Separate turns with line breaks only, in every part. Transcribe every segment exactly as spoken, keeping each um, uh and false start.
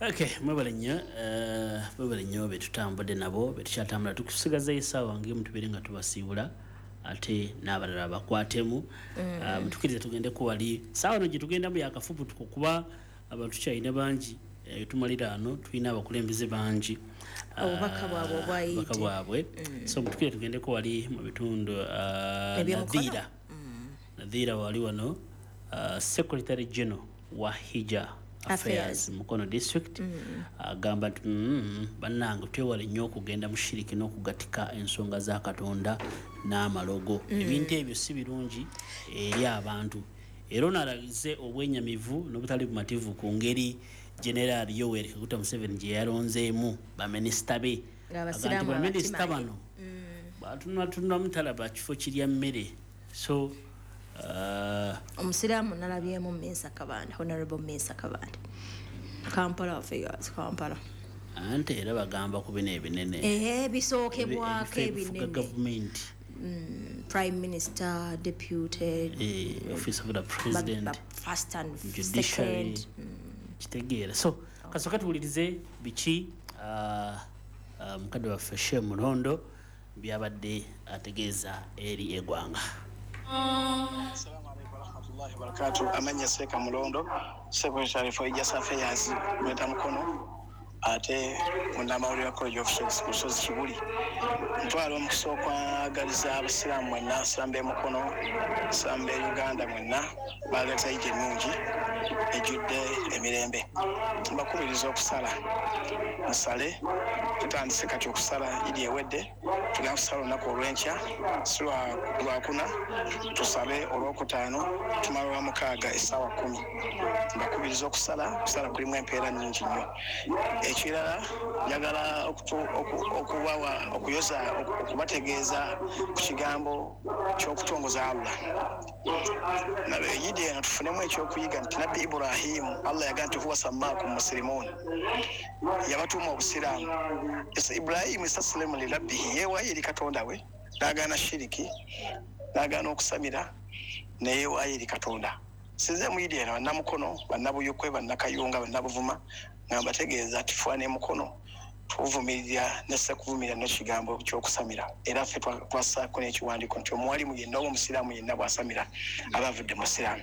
Okay, mwebale nnyo, eh, mwebale nnyo betutambudde nabo, betukyatambula. Tukusigazayo essaawa ng'emu tubeere nga tubasiibula, ate n'abalala bakwatemu.
Mm.
Ah, mutukirize tugendeko wali. Ssaawa eno gye tugendamu yakafubutuko kuba abantu tukyalina bangi. Eh, tumalira ano tulina abakulembeze bangi.
Obubaka bwabwe
Ah,
obwayite.
obubaka bwabwe.
Mm.
So mutukire tugendeko wali mu bitundu, ah,
Eby'omukono?
Nadhira.
Mm.
Nadhira wali wano, ah, Secretary General wa Hijja
Affairs.
Affairs Mukono District.
Mm.
Agamba nti, mm, bannange twewale nnyo okugenda mu shiriki n'okugatika ensonga za Katonda n'amalogo.
Mm.
Ebintu ebyo si birungi eri abantu. Era ono alaze obwenyamivu n'obutali bumativu ku ngeri General Yoweri Kaguta Museveni gye yalonzeemu baminisita be.
Ng'abasiraamu
Agamba nti baminisita
abakimanyi.
bano
Mm.
batunatunulamu talaba kifo kirya mmere. So, uh,
Omusiraamu nalabyemu Mensa Kabanda, Honorable Mensa Kabanda. Kampala Affairs, Kampala.
Ante era bagamba ku bino ebinene.
Ehe, bisookebwako
Ebi-, ebifo ebifuga
ebinene.
gavumenti.
Mm, Prime Minister, Deputy,
Eh, Office of the President,
ba-, first and
Judiciary.
second. Mm.
Kitegeera. So, kasooka tuwulirize biki, uh, uh, mukadde waffe Sheikh Mulondo byabadde ategeeza eri eggwanga.
Assalamu alaikum warahmatullahi wabarakatuh. Amanya Seeka Mulondo, Secretary for Hijja Affairs Greater Mukono, ate munnamawulire wa College of Sheikhs ku Lusozi Kibuli. Ntwala omukisa okwagaliza abasiraamu mwenna, abasiraamu b'e Mukono, abasiraamu b'e Uganda mwenna, baleeta Hijja ennungi ejjudde emirembe. Mbakubiriza okusala, musale. Tutandise kati okusala Idi ewedde, tugenda kusala olunaku olw'enkya, si lwa-, lwakuna, tusabe olwokutaano, tumala olwa mukaaga essaawa kkumi. Mbakubiriza okusala, okusala kulimu empeera nnyingi nnyo. Ekirala, njagala okutu-, oku-, okubawa, okuyoza, oku-, okubategeeza ku kigambo ky'okutongoza Allah. Nabe Idi eno tufunemu ekyokuyiga nti Nabbi Ibrahimu, Allah yagamba nti huwa sammaakum muslimuun, yabatuuma obusiraamu. Ese Ibrahimu istaslimu li rabbihi, yeewaayo eri Katonda we, n'agaana shiriki, n'agaana okusamira, ne yeewaayo eri Katonda. Sinze mu Idi eno bannamukono, bannabuyukwe, bannakayunga, bannabuvuma, nga mbategeeza nti fuwa ne mukono tuvumirira ne sekuvumirira n'ekigambo ky'okusamira. Era ffe twa-, twassaako n'ekiwandiiko nti omuwalimu yenna oba omusiraamu yenna bw'asamira aba avudde mu busiraamu.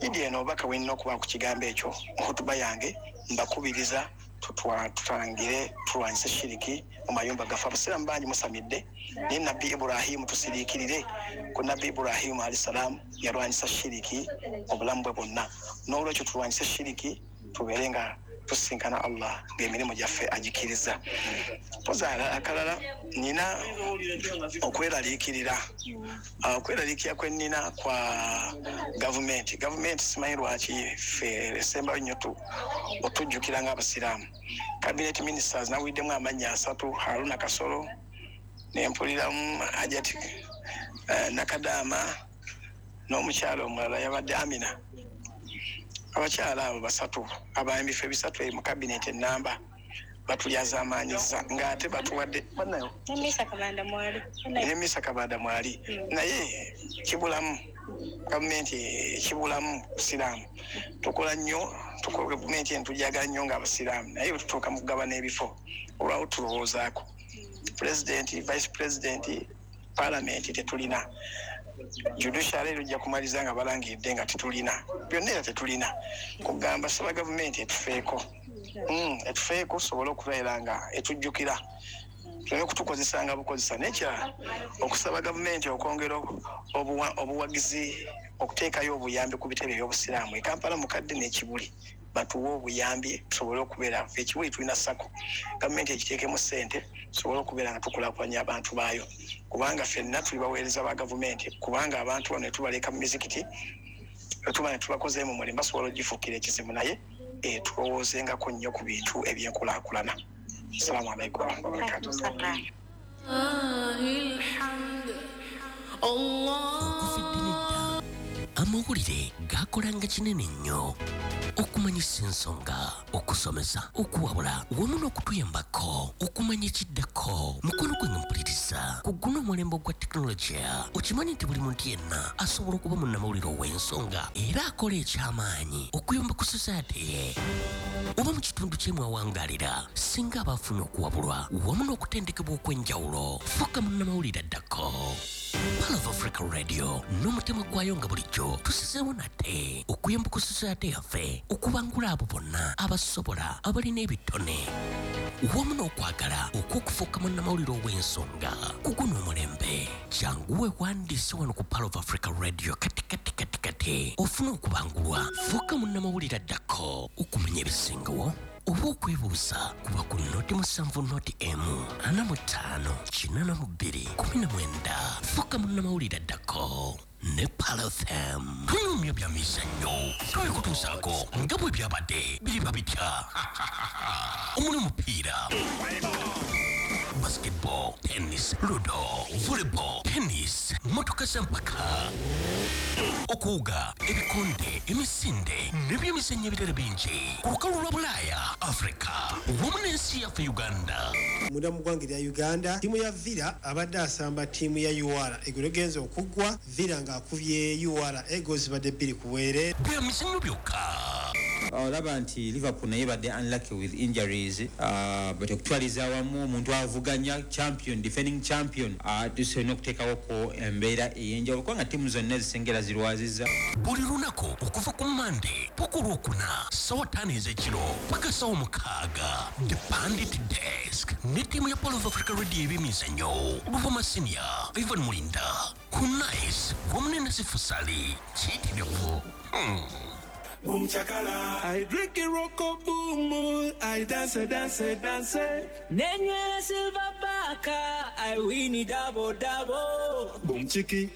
Idi eno obubaka bwe nnina okuba ku kigambo ekyo mu hutuba yange, mbakubiriza tutwa-, tutangire tulwanyise shiriki mu mayumba gaffe. Abasiraamu bangi musamidde, naye Nabbi Ibrahimu tusiriikirire ku Nabbi Ibrahimu alayhi salaam yalwanyisa shiriki obulamu bwe bwonna. N'olwekyo tulwanyise shiriki tubeere nga tusinkana Allah ng'emirimu gyaffe agikiriza. Mpozi akalala nina okweraliikirira. Ah, okweraliikirira kwe nnina kwa gavumenti. Gavumenti simanyi lwaki ffe esembayo nnyo tu-, otujjukira ng'abasiraamu. Cabinet ministers nawuliddemu amannya asatu, Haruna Kasolo, ne mpuliramu Hajati, eh, Nakadama n'omukyala omulala yabadde Amina. Abakyala abo basatu abayimbi ffe bisatu eri mu cabinet ennamba batulyazaamaanyiza ng'ate batuwadde bannayo.
Ne Misa Kabanda mwali.
Ne Misa Kabanda mwali.
Mm.
Naye kibulamu gavumenti kibulamu busiraamu. Tukola nnyo, tukola gavumenti eno tujagala nnyo ng'abasiraamu, naye bwe tutuuka mu kugabana ebifo olwawo tulowoozaako. President, Vice President, Parliament tetulina. Judiciary ejja kumaliza nga balangiridde nga tetulina. Byonna era tetulina. Kugamba saba gavumenti etufeeko. Mm, etufeeko tusobole okubeera nga etujjukira. Tuleme okutukozesanga bukozesa. N'ekirala, okusaba gavumenti okwongera obuwa-, obuwagizi, okuteekayo obuyambi ku bitebe by'obusiraamu. E Kampala mukadde n'e Kibuli batuwe obuyambi tusobole okubeera. Ffe e Kibuli tulina SACCO. Gavumenti ekiteekemu ssente tusobole okubeera nga tukulaakulanya abantu baayo. Kubanga ffenna tuli baweereza ba gavumenti, kubanga abantu bano ne tubaleka mu mizikiti, ne tuba ne tubakozeemu mulimu, basobola okugifuukira ekizibu, naye tulowoozengako nnyo ku bintu ebyenkulaakulana. Assalamu alaikum warahmatullahi wabarakatuh.
Amawulire gakolanga kinene nnyo okumanyisa ensonga, okusomesa, okuwabula wamu n'okutuyambako okumanya ekiddako. Mukono gwe mpuliriza ku guno omulembe ogwa tekinologiya, okimanyi nti buli muntu yenna asobola okuba munnamawulire ow'ensonga era akola ekyamaanyi okuyamba ku society ye. Oba mu kitundu kye mwawangalira, singa abafunye okuwabulwa wamu n'okutendekebwa okw'enjawulo, fuuka munnamawulire addako. Pearl of Africa Radio n'omutima gwayo nga bulijjo tusizeewo nate okuyamba ku society yaffe okubangula abo bonna abasobola, abalina ebitone wamu n'okwagala okw'okufuuka munnamawulire ow'ensonga ku guno omulembe. Jangu weewandiise wano ku Pearl of Africa Radio kati kati kati kati ofune okubangulwa, fuuka munnamawulire addako. Okumanya ebisingawo oba okwebuuza kuba ku noti musanvu noti emu ana mu ttaano kinaana mu bbiri kumi na mwenda. Fuuka munnamawulire addako ne Pearl F M. Tunyumya bya mizannyo, twekutuusaako nga bwe byabadde biriba bitya omuli omupiira, basketball, tennis, ludo, volleyball, tennis, motoka z'empaka, okuwuga, ebikonde, emisinde n'ebyemizannyo ebirala bingi ku lukalu lwa Bulaaya, Afrika wamu n'ensi yaffe Uganda.
Munda mu ggwanga erya Uganda, ttiimu ya Villa abadde asamba ttiimu ya U R eggulo egenza okuggwa, Villa ng'akubye U R egoals zibadde bbiri ku bwereere.
Bya mizannyo byokka.
Olaba nti Liverpool naye badde unlucky with injuries, uh, but okutwaliza awamu omuntu avuganya champion, defending champion, uh, tusolina okuteekawoko embeera ey'enjawulo kubanga ttiimu zonna ezisengera zirwaziza.
Buli lunaku okuva ku Mande paka Olwokuna ssaawa ttaano ez'ekiro paka ssaawa mukaaga, The Pundit Desk ne ttiimu ya Pearl of Africa Radio ebyemizannyo, Luvuma Senior, Ivan Mulinda ku Nice wamu ne Nasifu Sali kiyitirivu. Hmm.
Boom chakala. I drink it rocko boom. I dance, dance, dance.
Nenywera silver baka, I win it double double.
Boom chiki.